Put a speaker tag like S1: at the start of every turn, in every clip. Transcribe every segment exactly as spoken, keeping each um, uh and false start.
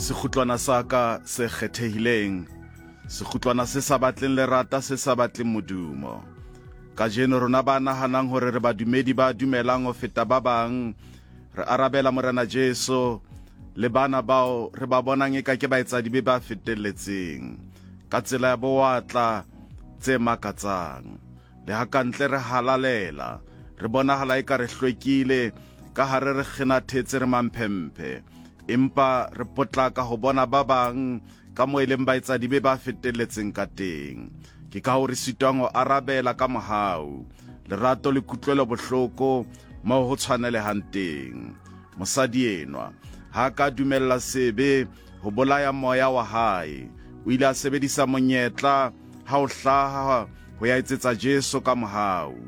S1: Sekgutlwana sa ka se kgethehileng, sekgutlwana se sa batleng lerata, se sa batleng modumo. Kajeno rona ba nahanang hore re badumedi ba dumelang ho feta ba bang, re arabela Morena Jesu le bana bao re ba bonang eka ke baetsadibe ba fetelletseng ka tsela ya bowatla tse makatsang. Le ha kantle re halalela, re bonahala eka re hlwekile, ka hare re kgenathetse re mamphemphe, empa re potlaka ho bona ba bang ka moo e leng baetsadibe ba fetelletseng ka teng. Ke ka ho re sitwang ho arabela ka mohau, lerato le kutlwelo bohloko moo ho tshwanelehang teng. Mosadi enwa ha ka dumella sebe ho bolaya moya wa hae. O ile a sebedisa monyetla ha o hlaha ho ya etsetsa Jesu ka mohau.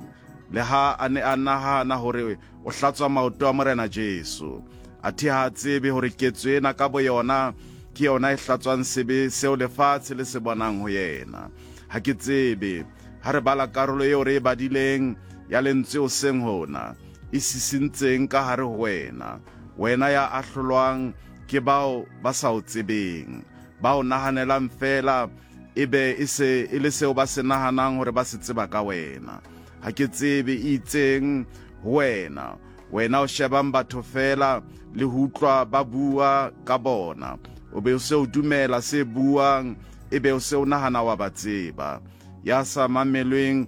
S1: Le ha a ne a nahana hore o hlatswa maoto a Morena Jesu, athe ha a tsebe hore ketso ena ka boyona ke yona e hlatswang sebe seo lefatshe le se bonang ho yena. Ha ke tsebe ha re bala karolo eo re e badileng ya lentswe hoseng hona, e sisintseng ka hare ho wena, wena ya ahlolwang ke bao ba sa o tsebeng, ba o nahanelang feela ebe e se e le seo ba se nahanang hore ba se tseba ka wena. Ha ke tsebe e itseng ho wena, wena o shebang batho feela le ho utlwa ba bua ka bona, o be o se o dumela se buang, ebe o se o nahana wa ba tseba. Ya sa mamelweng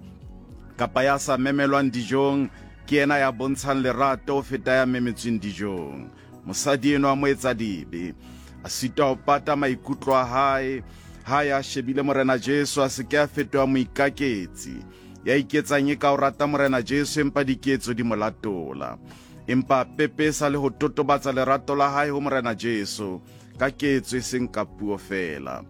S1: kapa ya sa memelwang dijong ke yena ya bontshang lerato ho feta ya memetsweng dijong. Mosadi enwa wa moetsadibe a sitwa ho pata maikutlo a hae ha ya shebile Morena Jesu, a se ke a fetoha moikaketsi ya iketsang e ka o rata Morena Jesu empa diketso di mo latola. Empa pepesa le ho totobatsa lerato la hae ho Morena Jesu ka ketso e seng ka puo feela.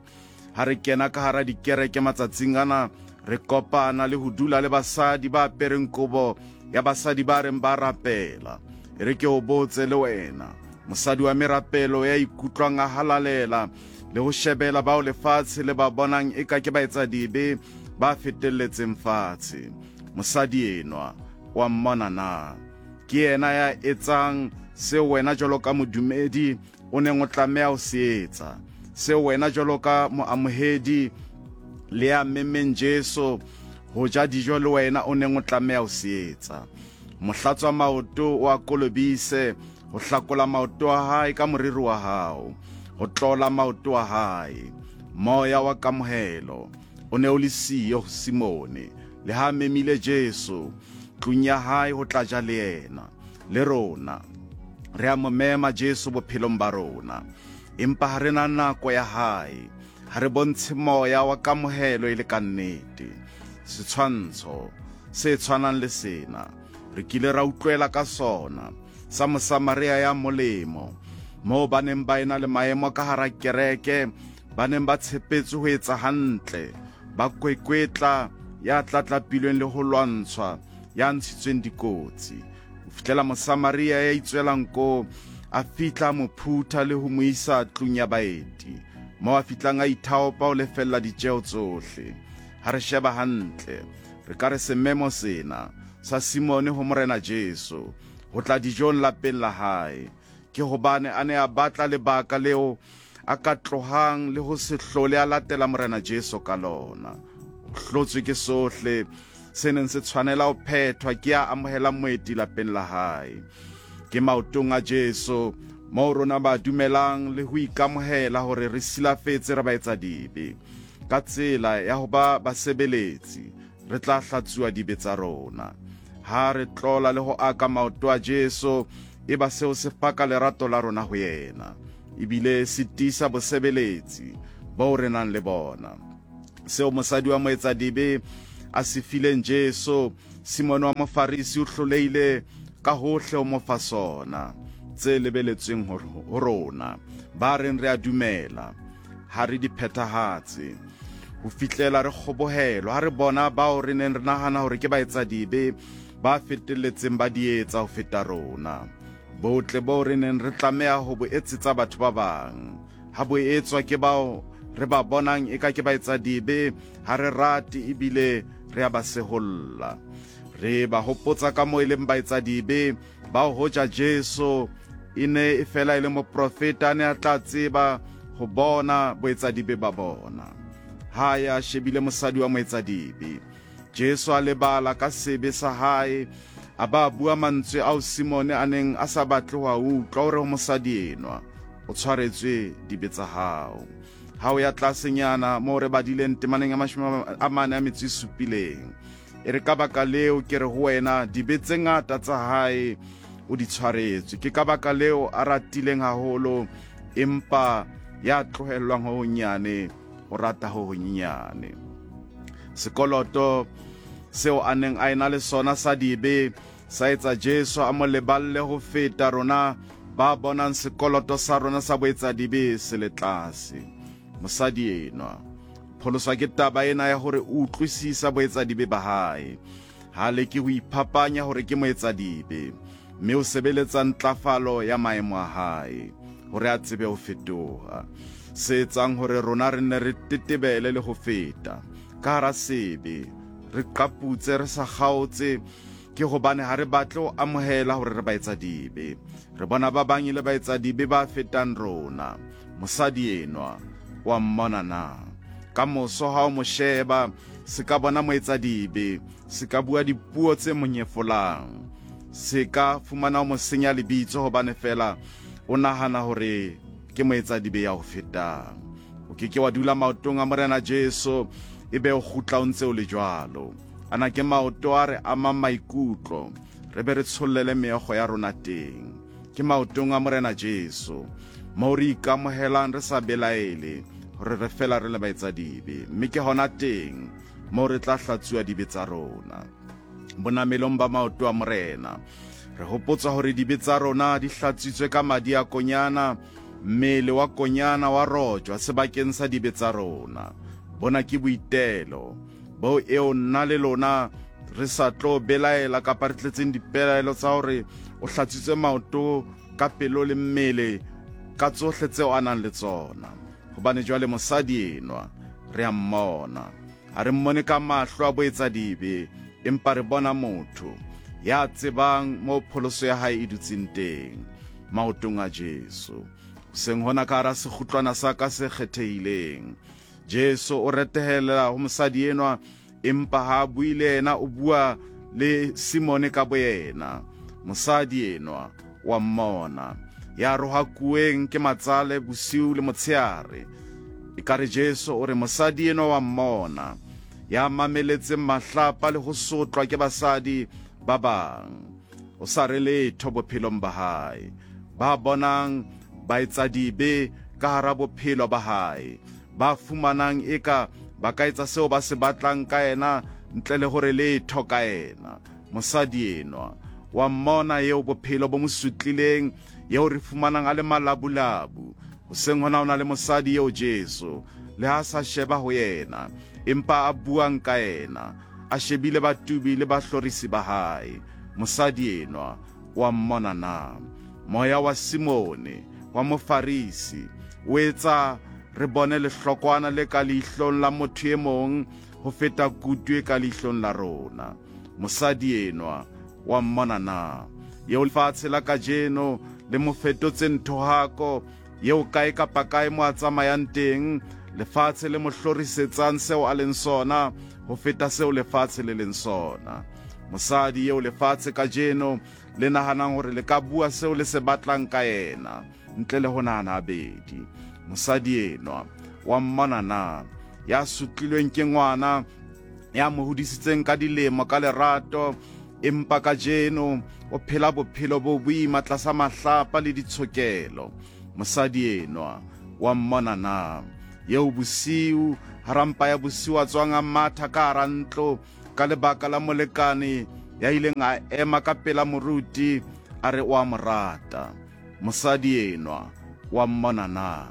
S1: Ha re kena ka hara dikereke matsatsing ana, re kopana le ho dula le basadi ba apereng kobo ya basadi ba reng ba rapela. E re ke o botse le wena, mosadi wa merapelo ya ikutlwang a halalela le ho shebela bao lefatshe le ba bonang eka ke baetsadibe ba fetelletseng fatshe. Mosadi enwa wa mmona na? Ke yena ya etsang seo wena jwalo ka modumedi o neng o tlameha ho se etsa, seo wena jwalo ka moamohedi le ya memeng Jesu ho ja dijo le wena o neng o tlameha ho se etsa. Mohlatswa maoto o a kolobise, ho hlakola maoto a hae ka moriri wa hao, ho tlola maoto a hae. Moya wa kamohelo o ne o le siyo ho Simone, le ha memile Jesu tlung ya hae ho tla ja le yena. Le rona re a mo mema Jesu bophelong ba rona, empa ha re na nako ya hae, ha re bontshe moya wa kamohelo e le ka nnete. Setshwantsho se tshwanang le sena re kile ra utlwela ka sona sa Mosamaria ya molemo, moo ba neng ba ena le maemo ka hara kereke, ba neng ba tshepetse ho etsa hantle, ba kwekwetla ya tlatlapilweng le ho lwantshwa, ya ntshitsweng dikotsi. Ho fihlela Mosamaria ya itswelang ko a fihla mo phutha le ho mo isa tlung ya baeti, moo a fihlang a ithaopa ho lefella ditjeo tsohle. Ha re sheba hantle, re ka re sememo sena sa Simone ho Morena Jesu ho tla dijong lapeng la hae ke hobane a ne a batla lebaka leo a ka tlohang le ho se hlole a latela Morena Jesu ka lona. O hlotswe ke sohle se neng se tshwanela ho phethwa ke ya amohelang moeti lapeng la hae. Ke maotong a Jesu moo rona ba dumelang le ho ikamohela hore re silafetse re baetsadibe. Ka tsela ya ho ba basebeletsi re tla hlatsuwa dibe tsa rona. Ha re tlola le ho aka maoto a Jesu, e ba seo se paka lerato la rona ho yena, ebile se tiisa bosebeletsi bo re nang le bona. Seo mosadi wa moetsadibe a se fileng Jesu, Simone wa Mofarisi o hlolehile ka hohle ho mo fa sona. Tse lebeletsweng ho rona ba reng re a dumela, ha re di phethahatse ho fihlela re kgobohelwa ha re bona bao re neng re nahana hore ke baetsadibe ba fetelletseng ba di etsa ho feta rona. Botle boo re neng re tlameha ho bo etsetsa batho ba bang, ha bo etswa ke bao re ba bonang eka ke baetsadibe, ha re rate ebile re a ba seholla. Re ba hopotsa ka moo e leng baetsadibe bao hoja Jesu e ne e fela e le moprofeta, a ne a tla tseba ho bona boetsadibe ba bona. Ha ya shebile mosadi wa moetsadibe, Jesu a lebala ka sebe sa hae, a ba bua mantswe ao Simone a neng a sa batle ho a utlwa, hore ho mosadi enwa o tshwaretswe dibe tsa hao. Ha o ya tlasenyana moo re badileng temaneng ya mashome a mane a metso e supileng, e re ka baka leo ke re ho wena, dibe tse ngata tsa hae o di tshwaretswe. Ke ka baka leo a ratileng haholo, empa ya tlohellwang ho honyane o rata ho honyenyane. Sekoloto seo a neng a ena le sona sa dibe sa etsa Jesu a mo leballe ho feta rona ba bonang sekoloto sa rona sa boetsadibe se le tlase. Mosadi enwa pholoswa ke taba ena ya hore o utlwisisa boetsadibe ba hae. Ha leke ho iphapanya hore ke moetsadibe, mme o sebeletsa ntlafalo ya maemo a hae hore a tsebe ho fetoha. Se etsang hore rona re nne re tetebele le ho feta ka hara sebe, re qaputse re sa kgaotse, ke hobane ha re batle ho amohela hore re baetsadibe. Re bona ba bang e le baetsadibe ba fetang rona. Mosadi enwa wa mmona na? Ka moso ha o mo sheba, se ka bona moetsadibe, se ka bua dipuo tse monyefolang, se ka fumana o mo senya lebitso hobane fela o nahana hore ke moetsadibe ya ho fetang. O ke ke wa dula maotong a Morena Jesu ebe o kgutla o ntse o le jwalo. Ana ke maoto a re amang maikutlo, re be re tshollele meokgo ya rona teng. Ke maotong a Morena Jesu moo re ikamohelang re sa belaele hore re fela re le baetsadibe, mme ke hona teng moo re tla hlatsuwa dibe tsa rona. Bonamelong ba maoto a Morena re hopotswa hore dibe tsa rona di hlatswitswe ka madi a konyana, mmele wa konyana wa rojwa sebakeng sa dibe tsa rona. Bona ke boitelo bo eo nna le lona re sa tlo belaela kapa re tletseng dipelaelo tsa hore o hlatswitswe maoto ka pelo le mmele ka tsohle tseo a nang le tsona. Hobane jwale mosadi enwa re a mmona, ha re mmone ka mahlo a boetsadibe, empa re bona motho ya tsebang moo pholoso ya hae e dutseng teng, maotong a Jesu. Hoseng hona ka hara sekgutlwana sa ka se kgethehileng, Jesu o retehela ho mosadi enwa, empa ha a bue le yena, o bua le Simone ka boyena. Mosadi enwa wa mmona, ya rohakuweng ke matsale bosiu le motsheare. Ekare Jesu o re mosadi enwa wa mmona, ya mameletseng mahlapa le ho sotlwa ke basadi ba bang, o sa re letho bophelong ba hae. Ba bonang baetsadibe ka hara bophelo ba hae, ba fumanang eka ba ka etsa seo ba se batlang ka yena ntle le hore letho ka yena. Mosadi enwa wa mmona eo bophelo bo mo sutlileng, eo re fumanang a le malabulabu. Hoseng hona o na le mosadi eo Jesu le ha sa sheba ho yena, empa a buang ka yena, a shebile batubi le bahlorisi ba hae. Mosadi enwa wa mmona na? Moya wa Simone wa Mofarisi o etsa re bone lehlokwana le ka leihlong la motho e mong ho feta kutu e ka leihlong la rona. Mosadi enwa wa mmona na? Eo lefatshe la kajeno le mo fetotseng thohako, eo kae kapa kae mo a tsamayang teng, lefatshe le mo hlorisetsang seo a leng sona ho feta seo lefatshe le leng sona. Mosadi eo lefatshe kajeno le nahanang hore le ka bua seo le se batlang ka yena ntle le ho nahana habedi. Mosadi enwa wa mmona na? Ya sutlilweng ke ngwana, ya mo hodisitseng ka dilemo ka lerato, empa kajeno o phela bophelo bo boima tlasa mahlapa le ditshokelo. Mosadi enwa wa mmona na? Eo bosiu hara mpa ya bosiu a tswang a matha ka hara ntlo ka lebaka la molekane ya ileng a ema ka pela moruti a re o a mo rata. Mosadi enwa wa mmona na?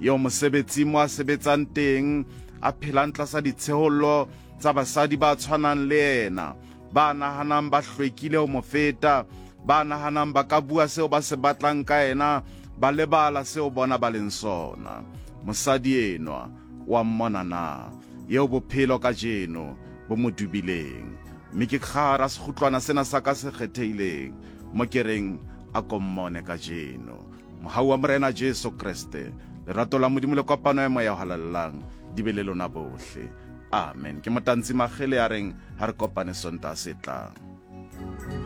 S1: Eo mosebetsi mo a sebetsang teng a phelang tlasa ditshehollo tsa basadi ba tshwanang le yena, ba nahanang ba hlwekile ho mo feta, ba nahanang ba ka bua seo ba se batlang ka yena, ba lebala seo bona ba leng sona. Mosadi enwa wa mmona na? Eo bophelo kajeno bo mo dubileng. Mme ke kgara sekgutlwana sena sa ka se kgethehileng mo ke reng A ko mmone kajeno. Mohau wa Morena Jesu Kreste, lerato la Modimo le kopano ya Moya o Halalelang di be le lona bohle. Amen. Ke Motantsi Magele ya reng ha re kopane Sontaha se tlang.